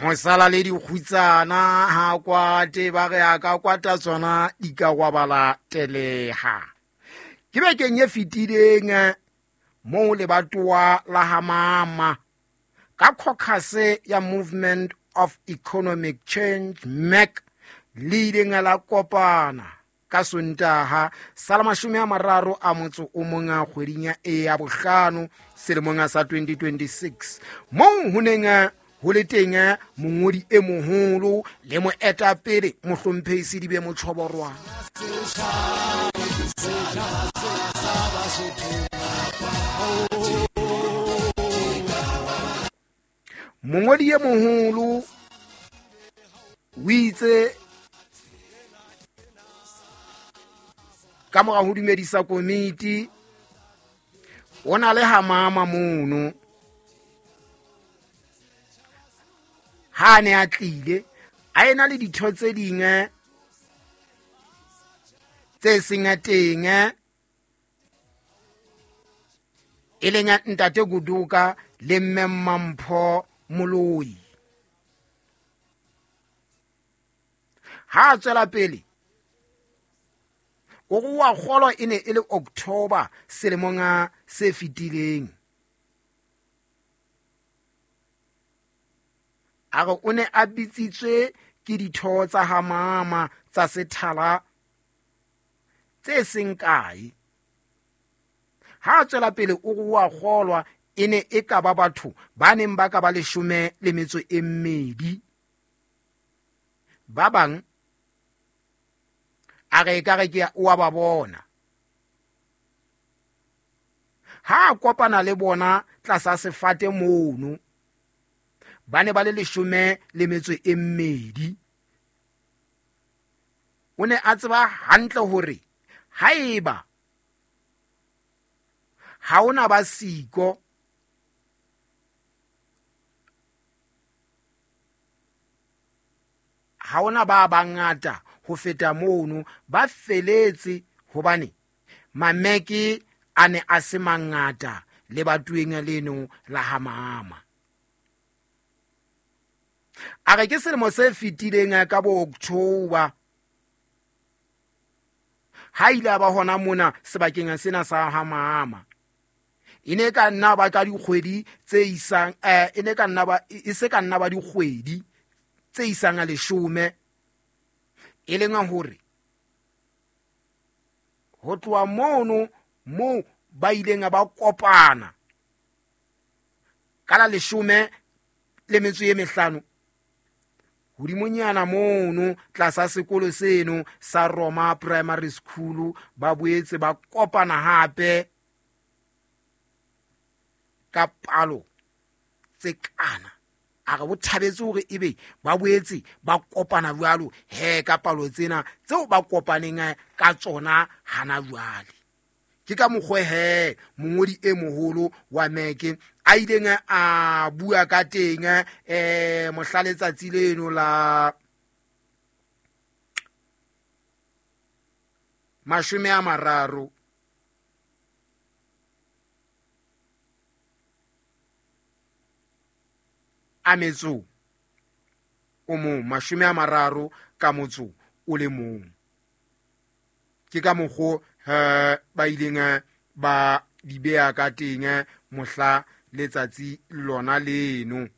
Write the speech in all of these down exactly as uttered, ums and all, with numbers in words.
Mosala le dikgutsana ha kwate ba re a ka kwata tsona di ka gwabala teleha. Ke bekeng e fetileng moo lebatowa la ha mama ka caucus ya Movement of Economic Change M E C le ileng la kopana ka Sontaha sa la mashome a mararo a motso o mong a kgweding ya e ya bohlano selemong sa twenty twenty-six moo ho neng ho le teng mongodi e moholo le moetapele mohlomphehi Sedibe Motjhoborwana. Mongodi e moholo o itse ka mora ho dumedisa komiti o na le ha mama mono ha ne a tlile a ena le ditho tse ding tse seng teng e leng ntate Goduka le mme Mampho Moloi. Ha a tswela pele o re wa kgolwa e ne e le October selemong se fetileng. A re o ne a bitsitswe ke ditho tsa ha mama tsa sethala tse seng kae. Ha a tswela pele o re wa kgolwa e ne e ka ba batho ba neng ba ka ba leshome le metso e mmedi. Ba bang a re ekare ke o a ba bona. Ha a kopana le bona tlasa sefate mono ba ne ba le leshome le metso e mmedi. O ne a tseba hantle hore haeba ha ona ba siko ha ona ba bangata ho feta mono ba feletse hobane mameke a ne a se mangata le batueng leno la ha mama. A re ke selemo se fetileng ka bo October ha ile ba hona mona sebakeng sena sa ha mama. E ne ka nna ba ka dikgwedi tse isang eh e ne ka nna ba e se ka nna ba dikgwedi tse isang a leshome e leng hore ho tloha mono moo ba ileng ba kopana ka la leshome le metso e mehlano hodimonyana mono tlasa sekolo seno sa Roma Primary School ba boetse ba kopana hape ka palo tse kana. A re bo thabetse hore ebe ba boetse ba kopana jwalo he ka palo tsena tseo ba kopaneng ka tsona hana jwale. Ke ka mokgwa he mongodi e moholo wa M E C a ileng a bua ka teng eh mohla letsatsi leno la mashome a mararo a metso o mong mashome a mararo ka motso o le mong. Ke ka mokgwa eh ba ileng ba di beha ka teng mohla letsatsi lona leno.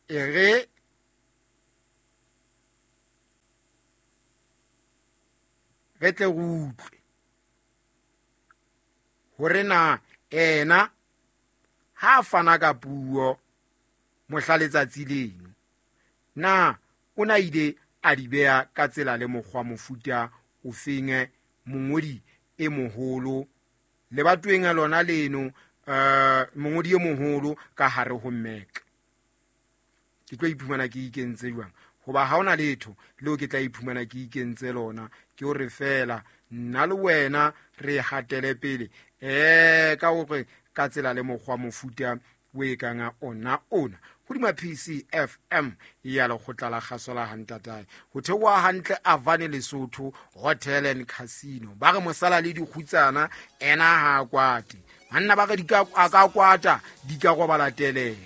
E re re tle re utlwe hore na ena ha fana ka puo mohla letsatsi leno na o na ile a di beha ka tsela le mokgwa mofuta o feng mongodi e moholo lebatoweng lona leno eh mongodi e moholo ka hare ho M E C. Ke tlo iphumana ke ikentse jwang hoba ha ona letho leo ke tla iphumana ke ikentse lona ke hore fela nna le wena re hatele pele eh ka hore ka tsela le mokgwa mofuta o e kang ona ona. Hodima P C F M ya lekgotla la kgaso la hantatae. Ho theoha hantle Avane Lesotho Hotel and Casino. Ba re mosala le dikgutsana ena ha kwate. Banna ba re di ka, a ka kwata, di ka robala telele.